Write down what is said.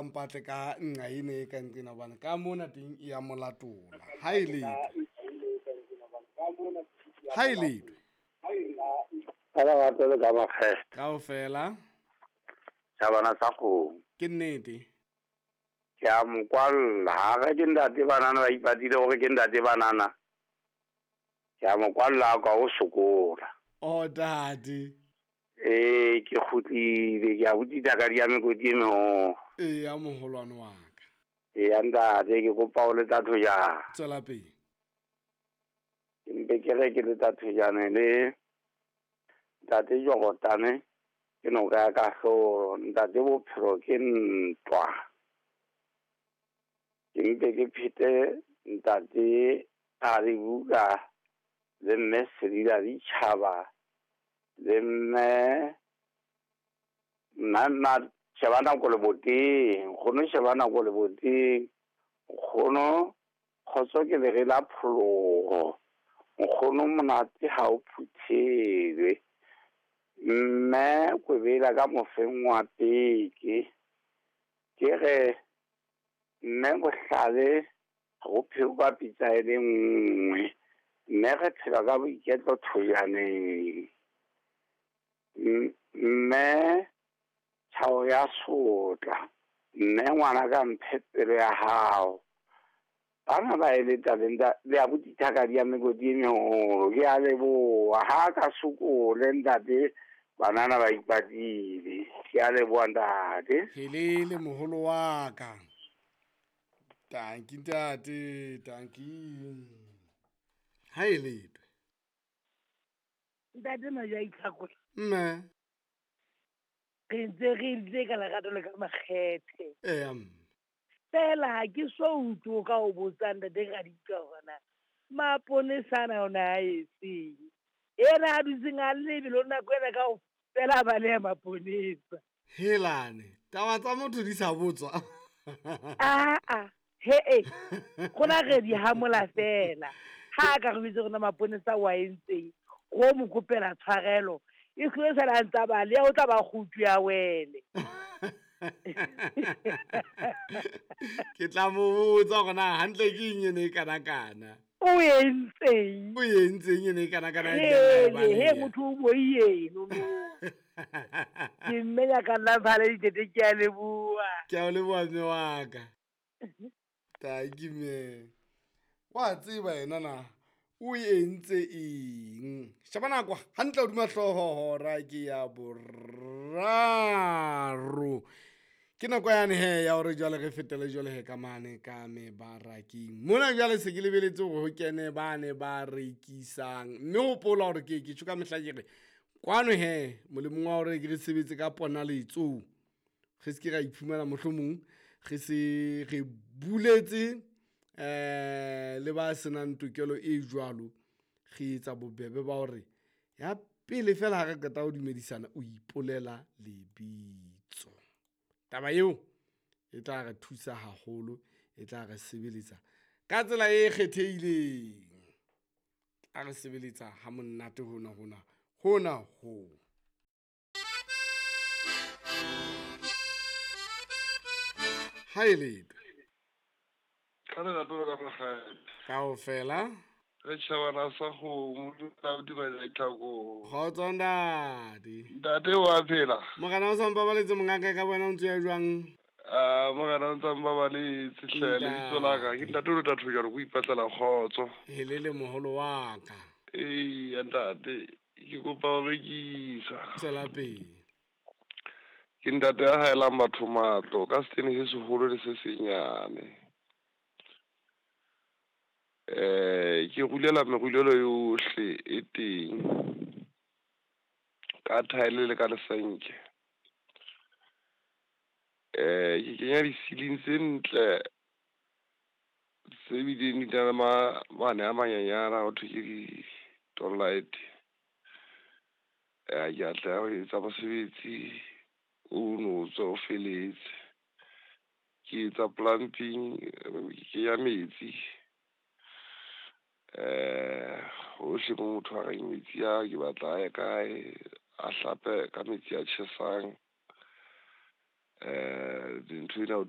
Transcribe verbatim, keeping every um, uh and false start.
a mpatle ka nqa ena e ka nqena hobane ka mona teng e ya molatola. Ha e letho. Ha e letho. Ka lerato le ka makgethe. Kaofela. Tjhabana sa kgomo. Ke nnete. Ke a mo kwalla. Ha re ke ntate banana ba ipatile hore ke ntate banana. Ke a mo kwalla ka o sokola. Oh daddy. Eh ke kgutlile ke a botsitsa ka di ya mekoti e meholo. Eh ya moholwane wa ka. Eh ya ntate ke kopa o le tla thojana. Tswela pele. Ke mpe ke re ke le tla thojana le ntate Jorotane ke noka ya kahlolo, ntate bophelo ke ntwa. Ke mpe ke phete ntate a re buka le mme Selila ditjhaba le mme nna nna sheba nako le boteng, nkgono sheba nako le boteng, nkgono kgotso ke lere la pholoho, nkgono monate ha o phuthelwe. Mme Kwebela ka mofeng wa peke ke re mme bohlale go pheo ka pitsa e le nngwe, mme re phela ka boiketlo thojaneng. Mme tjhao ya sotla, mme ngwana ka mphe pelo ya hao. Bana ba eletsa le nta le abuti thaka di ya mekoti e meholo. Ke a leboha ha ka sokole ntate banana ba ipatile. Ke a leboha ntate. Helele moholo wa ka. Tanki ntate, tanki. Ha e letho. Ntate Majo a itlhakola. Mme. Re ntse re ntse ka lerato le ka makgethe. Eh mme. Fela ha ke so utlwe ka o botsa ntate Raditwa hore na maponesa ana ona a etseng. Ena a dutseng a lebelo nako ena kaofela a baleha maponesa. Helane, taba tsa motho di sa botswa. Aa, he e. Rona re di hamola fela. Ha a ka re bitse rona maponesa wa entseng, ro mo kopela tshwarelo. E hlole sala a ntsa baleha, o tla ba kgutu ya wele. Ke tla mo botsa hore na hantle ke eng ene e kanakana. O entseng? O entseng ene e kanakana? He, he motho o boieno no. Ke mme ya ka nna phale ditete, ke a leboha. Ke a o leboha mme wa ka. Tanki mme. Wa tseba yena na o entse eng? Sheba nako hantle hodima hlooho hora ke ya boraro. Ke nako yane he ya hore jwale re fetele jwale he ka mane ka mebarakeng. Mona jwale se ke lebeletse hore ho kene ba ne ba rekisang. Mme hopola hore ke ke tjho ka mehla ke re kwano he molemong wa hore ke re sebetse ka ponaletso. Re se ke ra iphumana mohlomong re se re buletse eh le ba senang tokelo e jwalo, re etsa bobebe ba hore ya pele fela ha re qeta ho dumedisana o ipolela lebitso. Taba eo e tla re thusa haholo, e tla re sebeletsa ka tsela e kgethehileng. A re sebeletsa ha monate hona hona hona ho. Ha e letho. Ka lerato le ka makgethe. Kaofela. Re tjhabana sa kgomo, la dumela ditlhakong. Kgotso ntate. Ntate wa phela. Morena o sa mpabaletse mongaka ka wena o ntse ya jwang? Ah, morena o ntse mpabaletse hle, lebitso la ka ke ntate o le tatho jalo go ipatlela kgotso. Helele moholo wa ka. Ee, ntate, ke kopa ho rekisa. Tswela pele. Ke ntate ya haelang batho matlo ka setene se seholo le se senyane. Eh ke rulela merulelo yohle e teng ka thaele le ka lesenke. Eh ke kenya di-ceiling tse ntle tse bileng di na le mane a manyenyana ho thwe ke di-downlight. Eh ke atleha ho etsa mosebetsi o no tswa o feletse. Ke etsa plumbing, ke kenya metsi. Eh hohle mo motho a reng metsi a ke batla a ye kae, a hlape ka metsi a tjhesang. Eh dintho ena